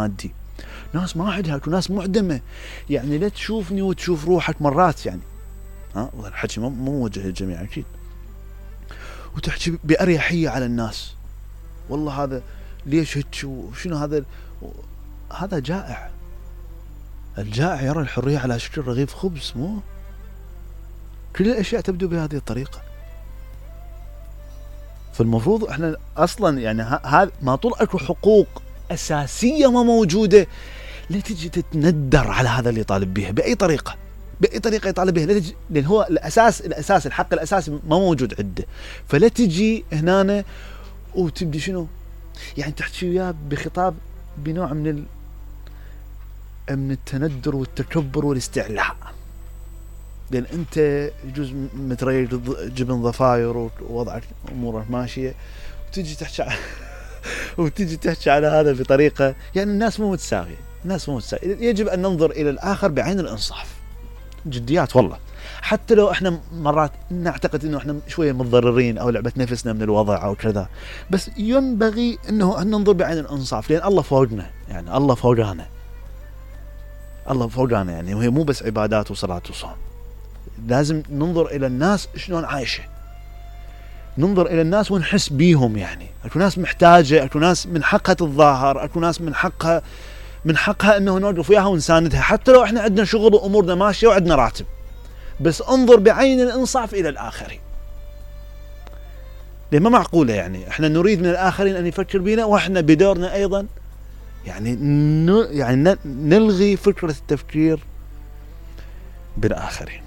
مادي، ناس ما عندها وناس معدمة، يعني لا تشوفني وتشوف روحك مرات يعني، الحكي مو موجه للجميع أكيد، وتحكي بأريحية على الناس، والله هذا ليش هيك وشنو هذا جائع. الجائع يرى الحرية على شكل رغيف خبز، مو كل الأشياء تبدو بهذه الطريقة. فالمفروض احنا اصلا يعني هذا ما طول اكو حقوق اساسيه ما موجوده، لا تجي تتندر على هذا اللي يطالب بها باي طريقه يطالب بها، لا تجي، لان هو الاساس الحق الاساسي ما موجود عنده، فلا تجي هنا وتبدي شنو يعني تحكي وياه بخطاب بنوع من التندر والتكبر والاستعلاء، لان انت يجوز متريج جبن ضفاير ووضعك امورك ماشيه، وتجي تحكي على هذا بطريقه، يعني الناس مو متساويه. يجب ان ننظر الى الاخر بعين الانصاف، جديات والله، حتى لو احنا مرات نعتقد انه احنا شويه متضررين او لعبه نفسنا من الوضع او كذا، بس ينبغي انه ان ننظر بعين الانصاف، لان الله فوقنا، يعني الله فوقنا يعني، وهي مو بس عبادات وصلاه وصوم، لازم ننظر الى الناس شلون عايشه، ننظر الى الناس ونحس بيهم، يعني اكو ناس محتاجه، اكو ناس من حقها تتظاهر، اكو ناس من حقها انه نوقف وياها ونساندها، حتى لو احنا عندنا شغل وامورنا ماشيه وعندنا راتب، بس انظر بعين الانصاف الى الاخرين، لان ما معقوله يعني احنا نريد من الاخرين ان يفكر بنا واحنا بدورنا ايضا يعني نلغي فكره التفكير بالاخرين.